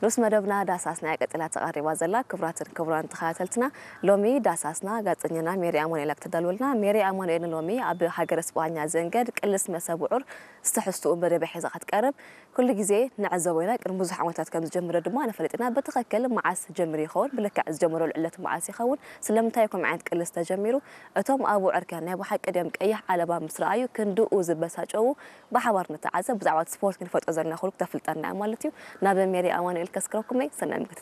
ንኡስ መደብና ዳሳስና እያ ቀጺላ ተቐሪባ ዘላ። ክቡራትን ክቡራን ተኸታተልትና፣ ሎሚ ዳሳስና ጋዜጠኛና ሜሪ ኣማኑኤል እያ ክተዳልወልና። ሜሪ ኣማኑኤል ንሎሚ ኣብ ሃገረ ስጳኛ ዘንገድ ቅልስ መሰብ ውዑር ዝተሕዝትኡ መደብ ሒዛ ክትቀርብ ኩሉ ግዜ ንዕዘቦ ኢና። ቅድሚ ብዙሕ ዓመታት ከም ዝጀመረ ድማ ንፈልጥ ኢና። ብትኽክል መዓስ ጀሚሩ ይኸውን? ብልክዕ ዝጀመረሉ ዕለት መዓስ ይኸውን? ስለምንታይ ከምኡ ዓይነት ቅልስ ተጀሚሩ? እቶም ኣብ ውዕር ከ ናይ ብሓቂ ድዮም ቀይሕ ዓለባ ምስ ረኣዩ ክንድኡ ዝበሳጨዉ? ብሓባር ንተዓዘብ። ብዛዕባ እቲ ስፖርት ክንፈልጦ ዘለና ኩሉ ክተፍልጠና እያ ማለት እዩ። ናብ ሜሪ ኣማኑኤል ከስክረኩም እየ። ሰናይ ምክትታል።